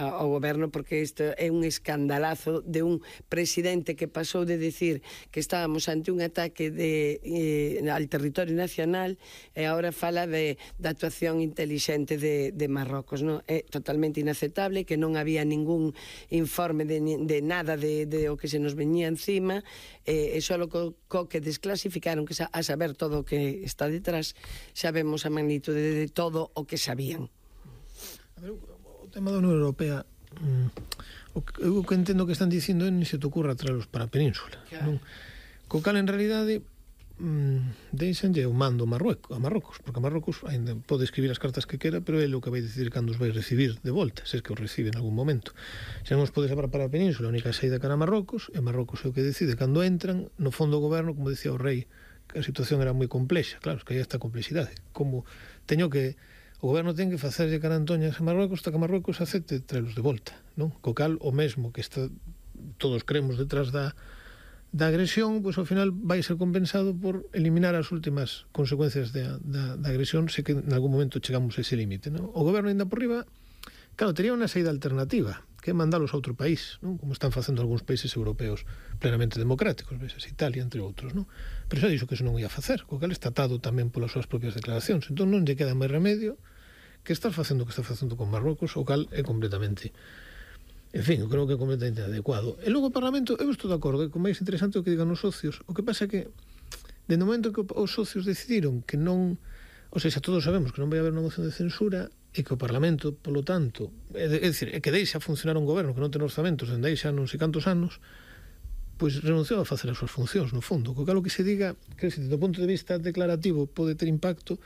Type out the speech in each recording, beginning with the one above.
ao goberno, porque isto é un escandalazo de un presidente que pasou de decir que estábamos ante un ataque al territorio nacional e agora fala da actuación inteligente de Marrocos, non? É totalmente inaceptable, que non había ningún informe de nada de o que se nos veñía encima, e só co que desclasificaron, que a saber todo o que está detrás, sabemos a magnitude de todo o que sabían. O tema da Unión Europea, o que entendo que están dicindo é ni se te ocurra traerlos para a península, non? Co cal en realidade deixanlle o mando a Marrocos, porque a Marrocos ainda pode escribir as cartas que quera, pero é o que vai decidir cando os vai recibir de volta, se é que os recibe en algún momento. Se non os pode saber para a península, a única saída cara a Marrocos, e Marrocos é o que decide cando entran. No fondo o goberno, como decía o rei, que a situación era moi complexa, claro, que hai esta complexidade, como o goberno ten que facerlle carantoñas a Marrocos hasta que Marrocos acepte traelos de volta, non? Co cal, o mesmo que todos creemos detrás da agresión, pois ao final vai ser compensado por eliminar as últimas consecuencias da agresión, se que en algún momento chegamos a ese límite, non? O goberno ainda por riba, claro, tería unha saída alternativa, que é mandalos a outro país, non? Como están facendo algúns países europeos plenamente democráticos, veces Italia, entre outros, non? Pero xa dixo que eso non ia facer, co cal está atado tamén polas súas propias declaracións, entón non lle queda máis remedio que estar facendo o que está facendo con Marrocos, o cal é completamente, en fin, eu creo que é completamente adecuado. E logo o Parlamento, eu estou de acordo, que o máis interesante é o que digan os socios. O que pasa é que, dende o momento que os socios decidiron que non, ou seja, todos sabemos que non vai haber unha moción de censura, e que o Parlamento, polo tanto, é dicir, que deixa funcionar un goberno que non ten orzamentos dende aí xa non sei cantos anos, pois renunciou a facer as súas funcións, no fondo. Co cal o que se diga, que do punto de vista declarativo pode ter impacto,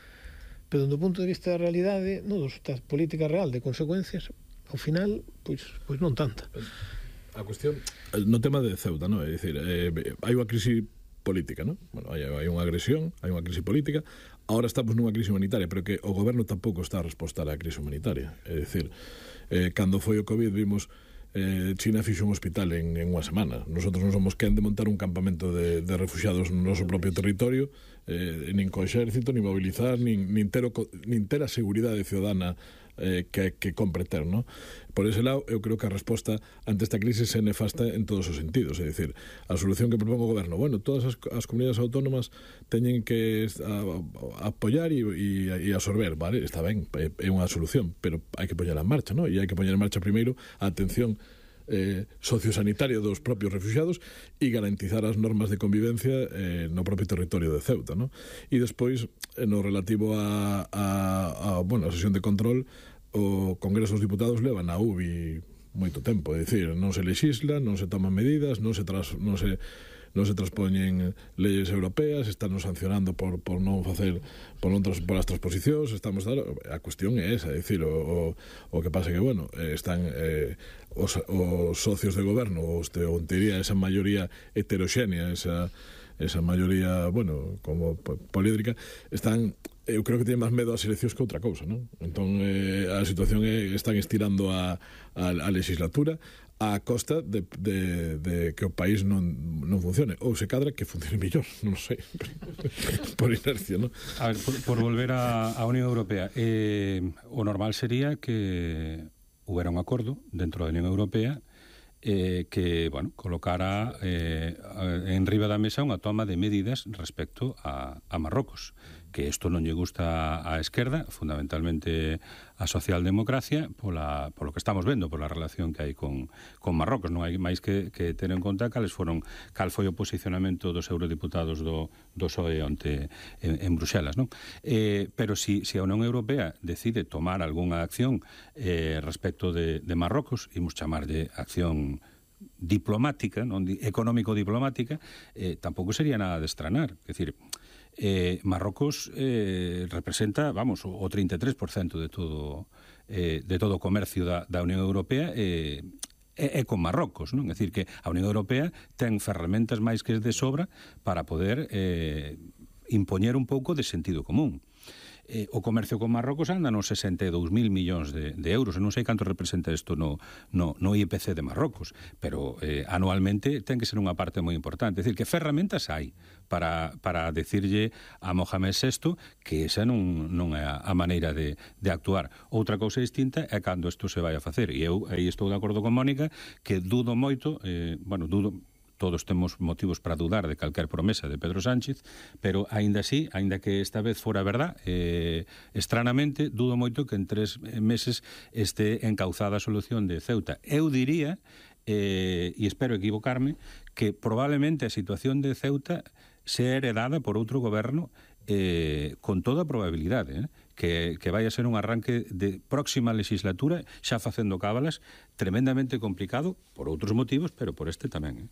pero do punto de vista da realidade, non, da política real de consecuencias, ao final, pois non tanta. A cuestión, no tema de Ceuta, non? É dicir, hai unha crise política, non? Bueno, hai unha agresión, hai unha crise política, agora estamos nunha crise humanitaria, pero que o goberno tampouco está a respostar á crise humanitaria. É dicir, cando foi o COVID vimos China fixo un hospital en unha semana. Nosotros non somos quen de montar un campamento de refugiados no noso propio territorio, nin co exército, nin mobilizar, nin ter a seguridade ciudadana que compre ter, non? Por ese lado, eu creo que a resposta ante esta crise é nefasta en todos os sentidos, é dicir, a solución que propón o goberno, bueno, todas as comunidades autónomas teñen que apoiar e absorber, vale, está ben, é unha solución, pero hai que poñela en marcha, non? E hai que poñer en marcha primeiro a atención sociosanitaria dos propios refugiados e garantizar as normas de convivencia no propio territorio de Ceuta, non? E despois, no relativo a sesión de control, o Congreso dos Diputados leva na UBI moito tempo, é dicir, non se lexisla, non se toman medidas, non se transpoñen leyes europeas, están sancionando por non facer por as transposicións, a cuestión é esa, é dicir, o que pasa que, bueno, están os socios de goberno, en teoría esa maioría heteroxénea, esa maioría, bueno, como poliédrica, eu creo que teñen máis medo ás eleccións que outra cousa, non? Entón, a situación están estirando a legislatura a costa de que o país non funcione, ou se cadra que funcione mellor, non sei, por inercia, non? A ver, por volver á Unión Europea, o normal sería que houbera un acordo dentro da Unión Europea que, bueno, colocara en riba da mesa unha toma de medidas respecto a Marrocos, que isto non lle gusta á esquerda, fundamentalmente a socialdemocracia, polo que estamos vendo, pola relación que hai con Marrocos. Non hai máis que ter en conta cal foi o posicionamento dos eurodiputados do PSOE onte en Bruxelas, non? Pero si a Unión Europea decide tomar algunha acción respecto de Marrocos, imos chamarlle acción diplomática, non económico-diplomática, tampouco sería nada de estranar. É dicir, Marrocos representa, vamos, o 33% de todo o comercio da Unión Europea é con Marrocos, non? É dicir, que a Unión Europea ten ferramentas máis que de sobra para poder impoñer un pouco de sentido común. o comercio con Marrocos anda nos 62.000 millóns de euros. Non sei canto representa isto no IPC de Marrocos, pero anualmente ten que ser unha parte moi importante. É dicir, que ferramentas hai para decirlle a Mohamed VI que esa non é a maneira de actuar. Outra cousa distinta é cando isto se vai a facer, e eu aí estou de acordo con Mónica, que dudo moito, todos temos motivos para dudar de calquer promesa de Pedro Sánchez, pero aínda así, aínda que esta vez fora verdad, estranamente, dudo moito que en 3 meses este encauzada a solución de Ceuta. Eu diría, e espero equivocarme, que probablemente a situación de Ceuta sea heredada por outro goberno con toda probabilidade, que vai a ser un arranque de próxima legislatura, xa facendo cábalas, tremendamente complicado, por outros motivos, pero por este tamén.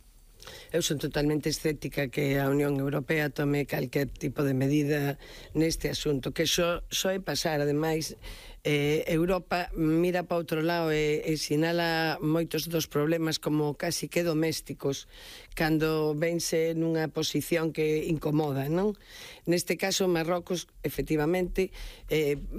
Eu son totalmente escéptica que a Unión Europea tome calquer tipo de medida neste asunto, que só é pasar. Ademais, Europa mira para outro lado e sinala moitos dos problemas como casi que domésticos cando vense nunha posición que incomoda, non? Neste caso, Marrocos, efectivamente,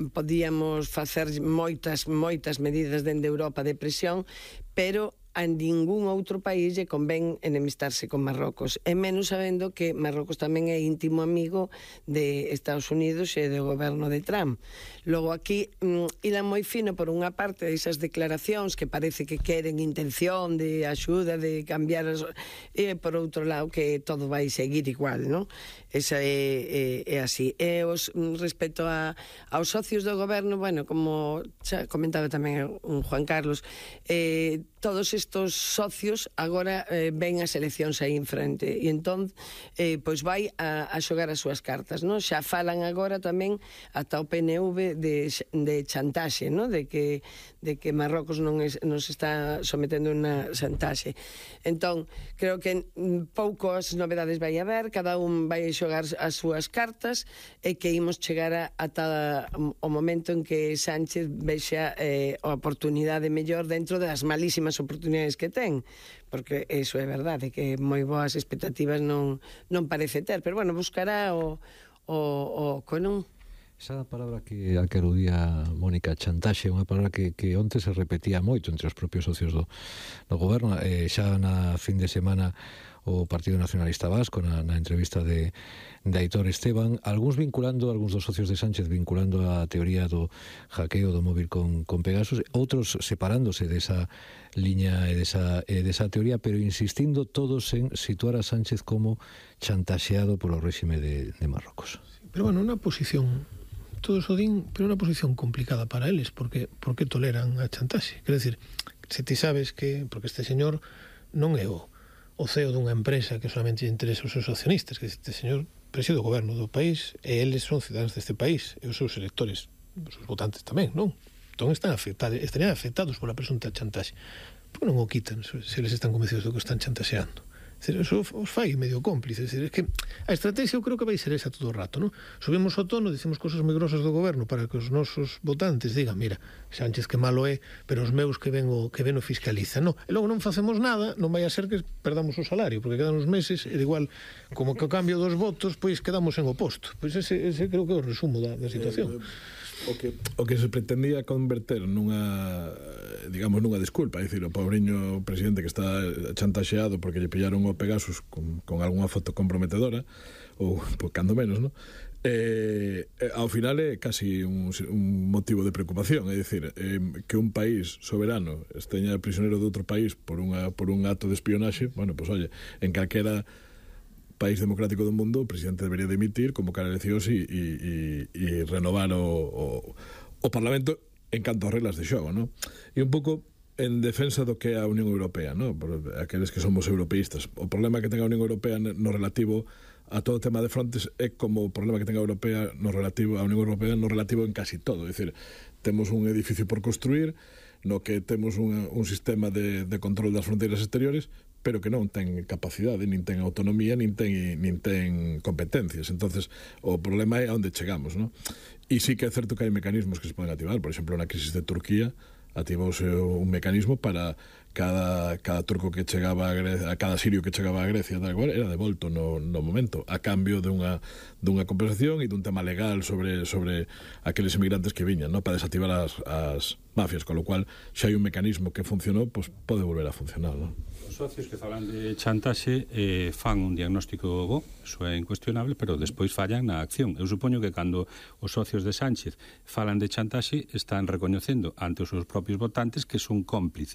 podíamos facer moitas medidas dende Europa de presión, pero a ningún outro país lle convén enemistarse con Marrocos, e menos sabendo que Marrocos tamén é íntimo amigo de Estados Unidos e do goberno de Trump. Logo aquí, ilan moi fino por unha parte desas declaracións que parece que queren intención de axuda, de cambiar e por outro lado que todo vai seguir igual, non? Esa é así. E respecto aos socios do goberno, bueno, como xa comentaba tamén un Juan Carlos, todos estos socios agora ven as eleccións aí en frente e entón pois vai a xogar as súas cartas, non? Xa falan agora tamén ata o PNV de chantaxe, non? De que Marrocos nos está sometendo unha chantaxe. Entón, creo que poucas novedades vai haber, cada un vai xogar as súas cartas e que imos chegar ata o momento en que Sánchez vexa a oportunidade mellor dentro das malísimas oportunidades que ten, porque iso é verdade, que moi boas expectativas non parece ter, pero bueno, buscará o non. Esa palabra que aludía Mónica, chantaxe, unha palabra que onte se repetía moito entre os propios socios do goberno. Xa na fin de semana o Partido Nacionalista Vasco na entrevista de Aitor Esteban, algúns dos socios de Sánchez vinculando a teoría do hackeo do móvil con Pegasus, outros separándose desa liña e desa teoría, pero insistindo todos en situar a Sánchez como chantaxeado polo réxime de Marrocos. Pero bueno, unha posición, todos o din, pero unha posición complicada para eles, porque toleran a chantaxe. Quero dicir, se ti sabes que, porque este señor non é o CEO dunha empresa que solamente interesa os seus accionistas, que este señor preside o goberno do país e eles son cidadáns deste país e os seus electores, os seus votantes tamén, non? Entón estarían afectados pola presunta chantaxe. Por que non o quitan se eles están convencidos do que están chantaxeando? Eso os fai medio cómplice. É que a estrategia eu creo que vai ser esa todo o rato, non? Subimos o tono, dicimos cosas moi grosas do goberno para que os nosos votantes digan, mira, Sánchez que malo é, pero os meus que ven o fiscalizan, non? E logo non facemos nada, non vai a ser que perdamos o salario, porque quedan uns meses e igual, como que o cambio dos votos, pois quedamos en o posto. Pois ese creo que é o resumo da situación. O que se pretendía converter nunha desculpa, é dicir, o pobriño presidente que está chantaxeado porque lle pillaron o Pegasus con algunha foto comprometedora, ou cando menos, non? Ao final é casi un motivo de preocupación, é dicir, que un país soberano esteña prisionero de outro país por un acto de espionaxe, bueno, pois oye, en calquera país democrático do mundo o presidente debería dimitir, convocar eleccións e renovar o Parlamento en canto a reglas de xogo, non? E un pouco en defensa do que é a Unión Europea, non? Por aqueles que somos europeístas. O problema que ten a Unión Europea no relativo a todo o tema de frontes é como o problema que ten a Unión Europea no relativo en casi todo. É dicir, temos un edificio por construir, no que temos un sistema de control das fronteiras exteriores, pero que non ten capacidade, nin ten autonomía, nin ten competencias. Entonces, o problema é a onde chegamos, non? E sí que é certo que hai mecanismos que se poden activar. Por exemplo, na crisis de Turquía activouse un mecanismo para cada turco que chegaba a Grecia, a cada sirio que chegaba a Grecia, tal cual, era devolto no momento, a cambio dunha compensación e dun tema legal sobre aqueles emigrantes que viñan, ¿no? Para desactivar as mafias, con lo cual, xa hai un mecanismo que funcionou, pues pode volver a funcionar, ¿no? Os socios que falan de chantaxe fan un diagnóstico bo, eso é incuestionable, pero despois fallan na acción. Eu supoño que cando os socios de Sánchez falan de chantaxe están recoñecendo ante os seus propios votantes que son cómplices